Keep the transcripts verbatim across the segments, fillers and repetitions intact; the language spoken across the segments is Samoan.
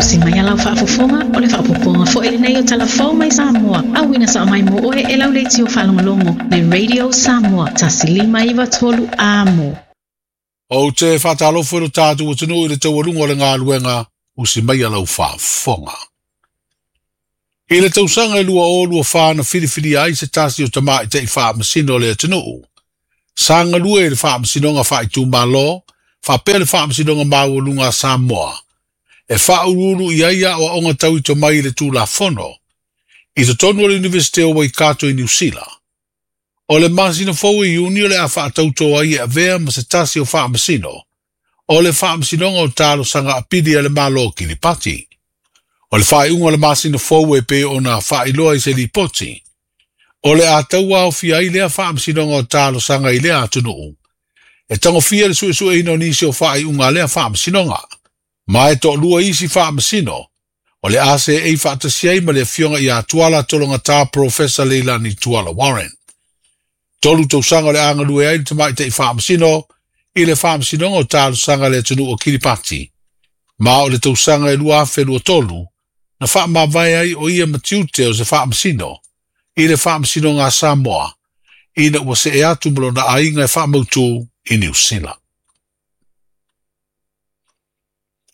Usi mai a lau faafofoga o le faaopoopoga foi lenei o Talafou mai Samoa. Auina sao mai mo oe e lau leitio faalogologo le Radio Samoa tasi lima iva tolu amo. Ou te whātalofu e lo tātou atunuu i le taualuga o le galuega usi mai a lau faafofoga. I le tausaga e lua o lua whā na whiriwhiri ai se tasi o tamaitai faamasino o le atunuu. Sa galue i le faamasinoga faaitumalo, faapea le faamasinoga maualuga a Samoa. E faauluulu i ai aoaoga tau i tomai i le Tulafono. I totonu o le Universite o Waikato i Niu Sila. O le masina fou i Iuni o le a faatauto ai e avea ma se tasi o faamasino. O le faamasinoga o talosaga apili a le Malo o Kiripati. O le faaiuga o le masina fou e pei ona faailoa i se lipoti. O le a tauaofia ai lea faamasinoga o talosaga i lea atunuu. E tagofia le suesueina o nisi o faaiuga a lea faamasinoga. Ma e toalua isi faamasino. O le a seei faatasi ai ma le afioga ia Tuala Tologata Professor Leilani Tuala Warren. Tolu tausaga o le a galue ai le tamaitai faamasino i le faamasinoga o talosaga a le atunuu o Kiripati. Ma o le tausaga e lua afe lua tolu, na faamavae ai o ia ma tiute o se faamasino i le faamasinoga a Samoa, ina ua see atu ma lona aiga e faamautu i Niu Sila.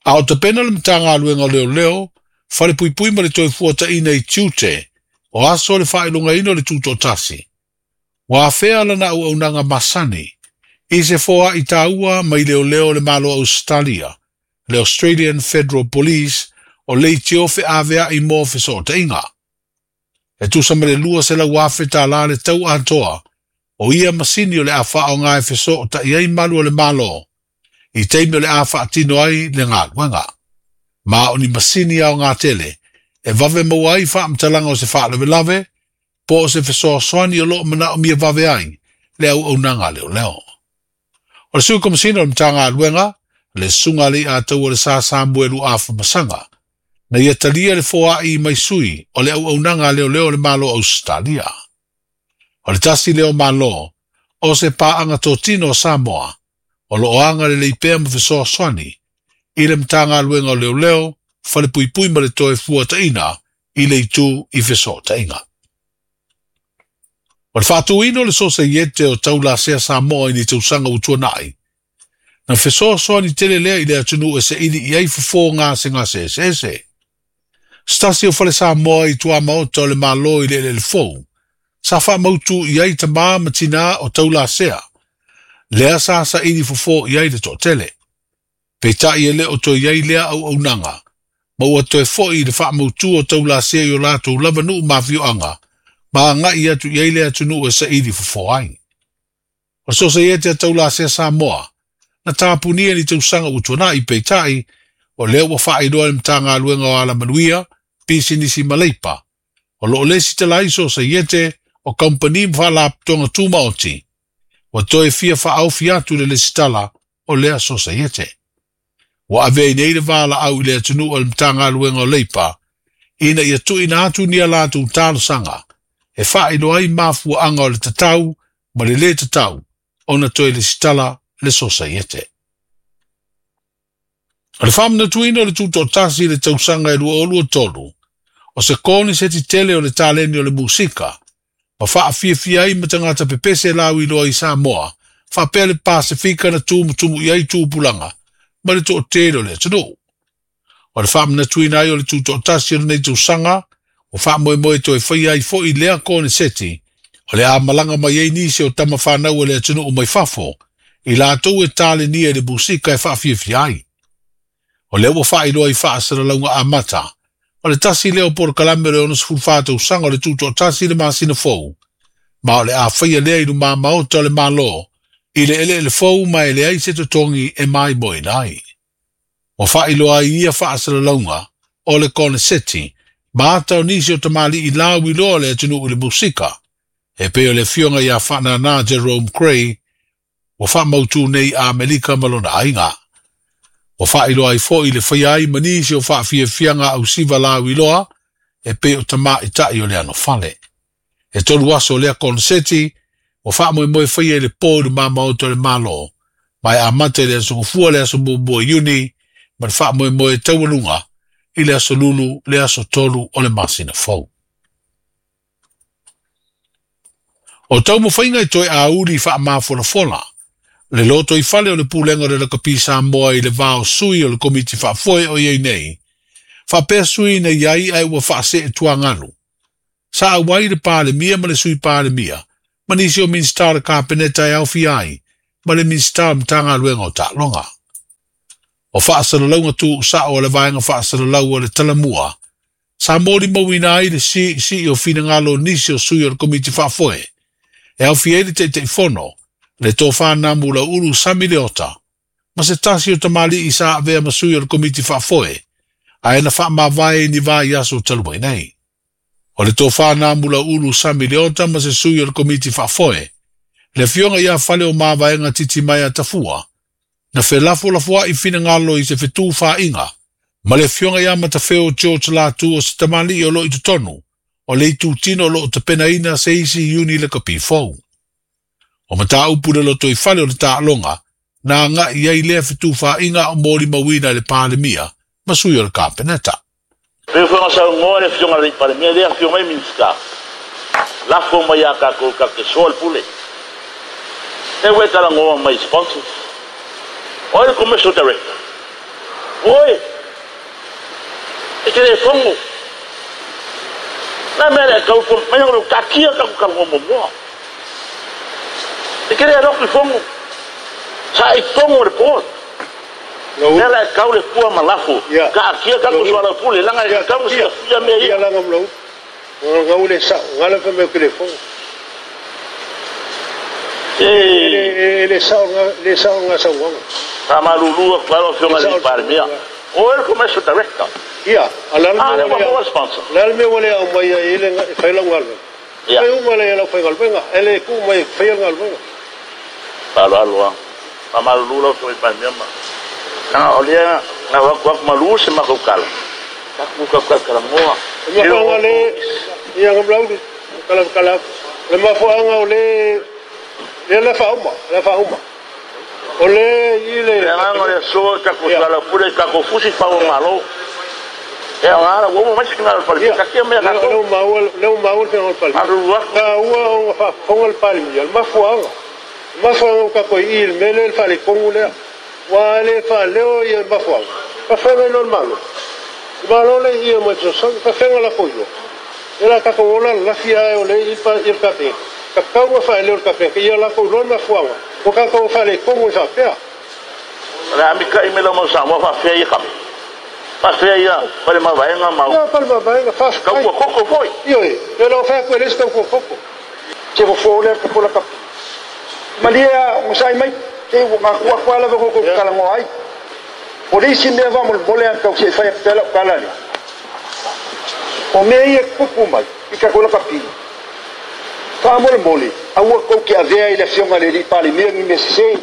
A o tapena le Matagaluega o Leoleo, falepuipui ma le toefuataiga i tiute o aso o le faailogaina o le tutoatasi. Ua afea lana auaunaga masani i se foai taua mai leoleo o le Malo o Ausetalia, le Australian Federal Police o leitio feaveai mo fesootaiga. E tusa ma le lua selau afe tālā le tau atoa o ia masini o le a faaaoga e fesootai ai malu o le Malo i taimi o le a faatino ai le galuega. Ma o ni masini aoga tele e vave maua ai faamatalaga o se faalavelave po o se fesoasoani o loo manaomia vave ai le auaunaga a leoleo. O le sui komasina o le Matagaluega, le susuga a Leiataua o le Sa Samuelu Afamasaga, na ia talia le foai mai sui o le auaunaga a leoleo o le Malo o Ausetalia. O le tasi lea o Malo o se paaga totino o Samoa, o loo agalelei pea ma fesoasoani i le Matagaluega o Leoleo, falepuipui ma le toefuataiga i le itu i fesootaiga. O le faatuina o le Sosaiete o Taulasea Samoa i ni tausaga ua tuanai, na fesoasoani tele lea i le atunuu e saili i ai fofo gasegase eseese. Se tasi o fale Samoa i tuamaota o le Malo i le eleele fou, sa faamautu i ai tamā ma tinā o taulasea, lea sa saili fofo i ai le toatele. Peitai e le o toe i ai lea auaunaga, ma ua toe foi i le faamautu o taulasea i o latou lava nuu ma afioaga, ma agai atu i ai le atunuu e saili fofo ai. O le Sosaiete a Taulasea Samoa, na tapunia ni tausaga ua tuanai peitai, o lea ua faailoa e le Matagaluega o Alamanuia, Pisinisi ma Leipa, o loo lesitala ai Sosaiete o kamupani ma faalapotopotoga tumaoti, ua toe fia faaofi atu le lesitala o lea Sosaiete. Ua ave ai nei le valaau i le atunuu a le Matagaluega o Leipa, ina ia tuuina atu ni a latou talosaga, e faailoa ai mafuaaga o le tatau ma le lē tatau ona toe lesitala le Sosaiete. O le faamanatuina o le tutoatasi i le tausaga e lua o lua tolu, o se koneseti tele o le taleni o le musika, ma faafiafia ai ma tagata pepese lauiloa i Samoa, faapea le Pasefika na tumutumu i ai tupulaga ma le toatele o le atunuu. O le faamanatuina ai o le tutoatasi o lenei tausaga, ua faamoemoe toe faia ai foi lea koneseti, o le a malaga mai ai nisi o tama fanau o le atunuu mai fafo, i latou e talenia i le musika e faafiafia ai. O lea ua faailoa i faasalalauga amata, o le tasi lea o polokalame o le onosefulufa tausaga o le tutoatasi i le masina fou, ma o le a faia lea i lumamaota o le Malo, i le eleele fou ma e leai se totogi e maimoaina ai. Ua faailoa ai ia faasalalauga o le koneseti, ma ata o nisi o tamalii lauiloa o le atunuu i le musika, e pei o le afioga ia Faanana Jerome Cray, ua faamautu nei i Amerika ma lona aiga. Ua faailoa ai foi le faia ai ma nisi o faafiafiaga ausiva lauiloa, e pei o tamaitai o le anofale. E tolu aso o lea koneseti, ua faamoemoe faia i le po i lumamaota o le Malo, ma e amata i le aso Gafua le aso muamua o Iuni, ma le faamoemoe taualuga I le aso lulu le aso tolu o le masina fou. O taumafaiga e toe auli faamafolafola le loto i fale o le pulega o le lakapi Samoa i le va o sui o le komiti faafoe o iai nei, faapea sui na iai ae ua faasee tuagalu. Sa auai le Palemia ma le sui Palemia, ma nisi o Minisita o le Kapeneta e aofia ai, ma le Minisita o Matagaluega o Taaloga. O faasalalauga tuusao o le vaega faasalalau o le talamua, sa molimauina ai le siisii o finagalo o nisi o sui o le komiti faafoe, e aofia ai le Taitaifono, le tofa Namu Lauulu Sami Leota, ma se tasi o tamalii sa avea ma sui o le komiti faafoe, ae na faamavae ni vaiaso talu ai nei. O le tofa Namu Lauulu Sami Leota ma se sui o le komiti faafoe, le afioga ia Fale o Mavaega Titimaea Tafua, na felafolafoai finagalo i se fetufaaiga, ma le afioga ia Matafeo George Latu o se tamalii o loo i totonu, o le itutino o loo tapenaina se isi iuni lakapi fou. O mataupu le loto i fale o le taaloga, na agai ai lea fetufaaiga o molimauina i le Palemia ma sui o le Kapeneta. Pe fanga saunoa le afioga i le Palemia, le afioga i Minisita. Lafo mai ia kākou ka te soa le pule. E ue talangoa mai sponsors. Oe le commercial director. Oe, e te le fongo. Na mea le kau mai o kakia ka ka mo mo. E te le roku fongo. Sa i fongo le port. Ne la kau le pua malafo. Ka akia ka ko soa pule langa e kau se fia me ia langa mlo. Ngau le sa, ngala fa me ke le fongo. E le sa le sa nga sa wanga. Tamalulu claro fionga le Palemia. O el commercial director. Ia, alal me wale sponsor. Lal me wale au mai ele fai la ngalwe. Fai uma le la fai ngalwe, ele ku mai fai ngalwe. Alo alo. Tamalulu lo fionga Palemia ma. Na olia na wa kwa malu se makukala. Ka ku ka ka kala moa. Ia ngale ia ngamlau kala kala. Le mafuanga ole le la fauma, la fauma. Ole ile le nganga le so ka ko sala pule ka ko fusi fa o malo. E ngala wo mo mas ngala pale ka ke me ka ko maul le maul fe o pale. Ka ua o fa fongol pale mi al mafuanga. Mafuanga ka ko il mele el fale kongule. Wa le fa le o il mafuanga. Ka fe no malo. Malo le i mo so ka fe la foyo. Era ka ko la la fia ole il pa il ka pe. Ka kau fa le o ka pe ia la ko lo mafuanga. O ka ko fa le kongo sa pea. La mi ka i me lo mo sa mo fa fe i ka. Fa fe ia, fa le mavaenga mau. Ia fa le mavaenga fa. Ka ko koko foi. Io e, le lo fa ko le sta ko koko. Ke fo fo le ko la ka. Malia mo sai mai te wa ko ko la ko ko kala ngo ai. Polisi me va mo mole ka se fa pela kala le. O me ia kuku mai i ka ko la ka pi. Fa mo le mole, aua ko ke avea i le fionga le li Palemia ni me se.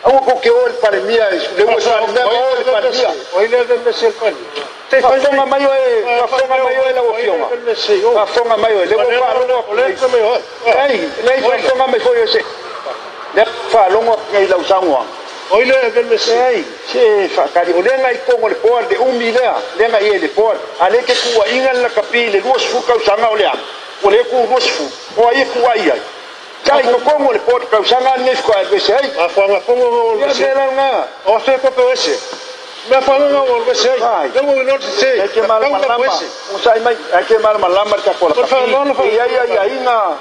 Aua ko ke o le Palemia, le o sa me o le Palemia. O ile le me se Palemia. Te fafonga mai o e, fafonga mai o e la o fionga. Fafonga mai o e, le o fa longo le me o. Ei, le fafonga mai foi o se. Le fa longo ngai lau sangoa. O ile le me se. Ei, se fa kari o le ngai kongo le poa de umi lea, le ngai e le poa. Ale ke kua inga la kapi le lua suka usanga o lea. O le ku rosfu o ai ku ai ai tai ko kongo le pot ka usanga ni ko ai se ai a fa kongo o se la nga o se ko ko se me fa nga o se ai le mo no se e ke mal malama o sai mai e ke mal malama ka ko la ia ia ia inga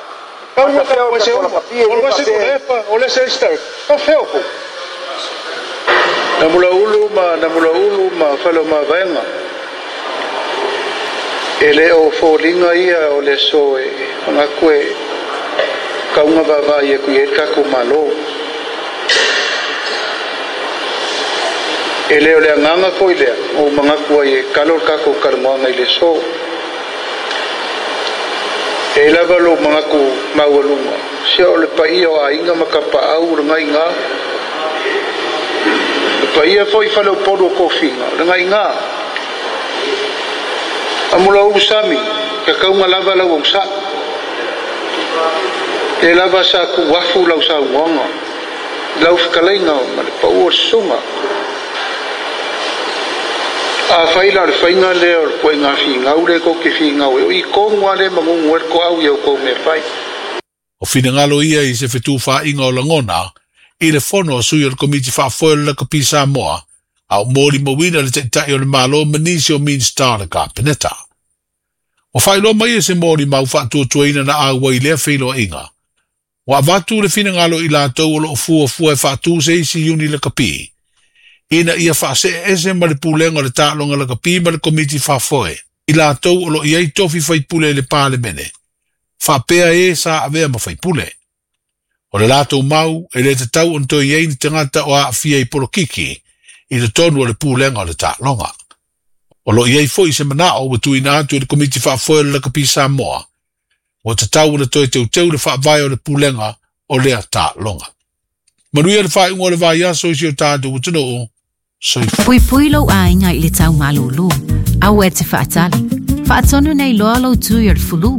ka ko se o se ko o le se sta ka feo ko na mula ulu ma na mula ulu ma falo ma venga e le o fōlinga ia o le so e whangaku e kaunga vava ia kui e kako malo. E le o le anganga foi lea o mangaku ai e kalo kako kalamoanga i le so. E lava lo mangaku maualunga. Sia o le paia o ainga makapa au o ngai ngā. Le paia foi whale o polu o kōwhinga o ngai ngā. Amula u sami, ka kaunga lava lau au sa. Le lava sa ku wafu lau sa uonga. Lau whakaleinga ma le pau o sunga. A fai la le faiga lea o le puaiga figau le kou ke figau e o i kogu a le magugu ai le toau ia outou mea fai. O finagalo ia i se fetufaaiga o lagona i le fono a sui o le Komiti Faafoe o le Lakapi Samoa a o molimauina le Taitai o le Malo ma nisi o Minisita o le Kapeneta. Ua faailoa mai e se molimau faatuatuaina na auai i lea feiloaiga. Ua avatu le finagalo i latou o loo fuafua e faatu se isi iuni lakapi ina ia faasee ese ma le pulega o le taaloga lakapi ma le Komiti Faafoe i latou o loo i ai tofi faipule i le Palemene faapea e sa avea ma faipule. O le latou mau e le tatau ona toe i ai ni tagata o aafia i polokiki i totonu o le pulega o le taaloga. O loo i ai foi se manao ua tuuina atu i le Komiti Faafoe o le Lakapi Samoa ua tatau ona toe teuteu le faavae o le pulega o lea taaloga. Manuia le faaiuga o le vaiaso i si o tatou atunuu. Soifua. Puipui lou aiga i le tau malūlū. Aua e te faatali. Faatonu nei loa lou tui o le fulu.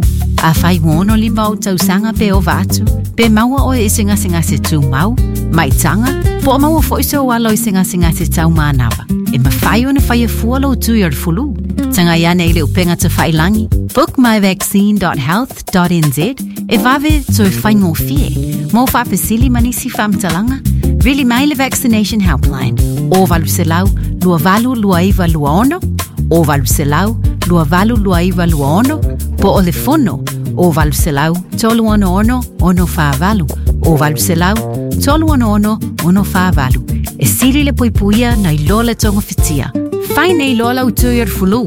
Afai ua ono lima ou tausaga pe ova atu, pe maua oe i se gasegase tumau, maitaga, po o maua foi sou alo i se gasegase taumanava. E mafai ona faia fua lou tui o le fulu. Tagai ane i le upega tafailagi, bookmyvaccine dot health dot N Z e vave toe faigofie. Mo faafesili ma nisi faamatalaga, vili mai le Vaccination Helpline o valu selau lua valu lua iva lua ono, o valu selau lua valu lua iva lua ono, po o le fono o valu selau tolu ono ono ono fa valu, o valu selau tolu ono ono ono fa valu. E sili le puipuia nai lo le togafitia. Fai nei loa lau tui o le fulu.